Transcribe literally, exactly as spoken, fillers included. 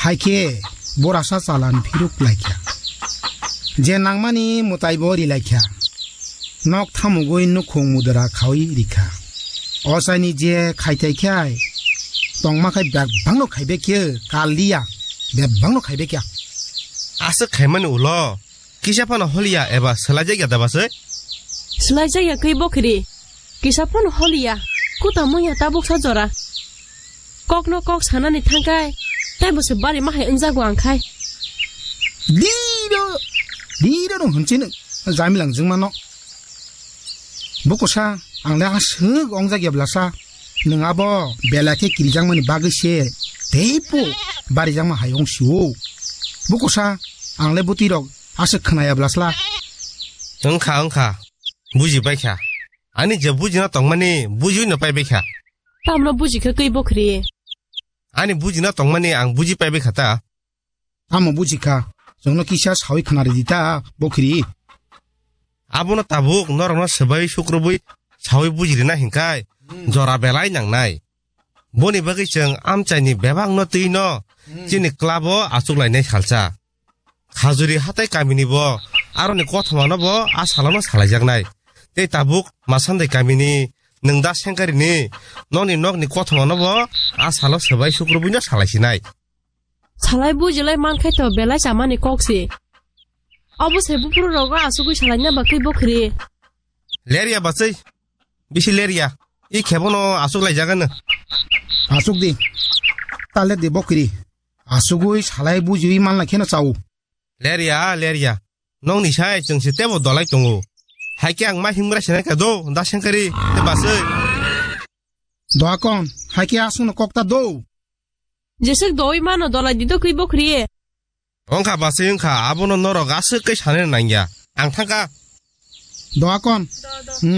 Hai khe borasa chalan phiruk lai kha. Je nangmani mwtai bo ri lai kha. Nok thamugwi nukhung mudra khaui ri kha. Ochaini je khai thai khai tongma khai bebak no khai be khe kal liya, bebak no khai be khe. Aswk khaimani ulo kisa phano holiya eba swlaijak ya da basai? Swlaijak ya kwi bokhri. Kisa phano holiya. Kuta mungya tabuk sa jora. Kokno kok sanani thangkai, taibo se bari mahai wngjago ang khai. Diro, diro no hwnchino, jamilang jwngmano. Bukusa, ang le aswk ongjak ya blasa. Nwng abo belai khe kirijakmani bagwi se, teibo barijakma hai wng sio. Bukusa, ang le bwtwi rok aswk khwnaya blasla. Wngkha, wngkha. Buji paikha. Ani je bujina tongmani, bujiwi no pai baikha. Tamno buji kha kwi bokhri? Ani bujina tongmani ang buji pai baikha ta. Tamo buji kha? Chwngno kisa sawi khna ridi ta, bokhri. Abono tabuk norokno swbai sukrubwi sawi bujirina hinkhai, hmm, jora belai nangnai. Boni bagwi chwng amchaini bebakno twino, hmm, chini club-o achuklainai salsa. Khajuri hatai kamini bo aroni kothomano bo a salono salaijaknai. Tei tabuk Masandai kamini nwng da sengkarini nokni nokni kothomano bo a salo swbai sukrubuino salaisinai. Salai bujilai mankhai to belai chamani kok se. Obo se buphuru rogo asugwi salaina bagwi bokhri. Lerya bachai, bisi lerya. I khebono asuk laijagano. Asuk di. Tale di bokhri. Asugwi salai bujiwi manna kheno chao. Lerya, lerya. Nokni sai chwng se tebo dolai tongo. Hai khe ang ma himgra sinai kha do, da sengkari, te basai. Doakon, hai khe aswkno kok ta do. Jeswk doi mano dolai di do kwi bokhri. Wngkha basai wngkha, abono norok aswk khe sanai nangya. Ang thangkha. Doakon. Hmm.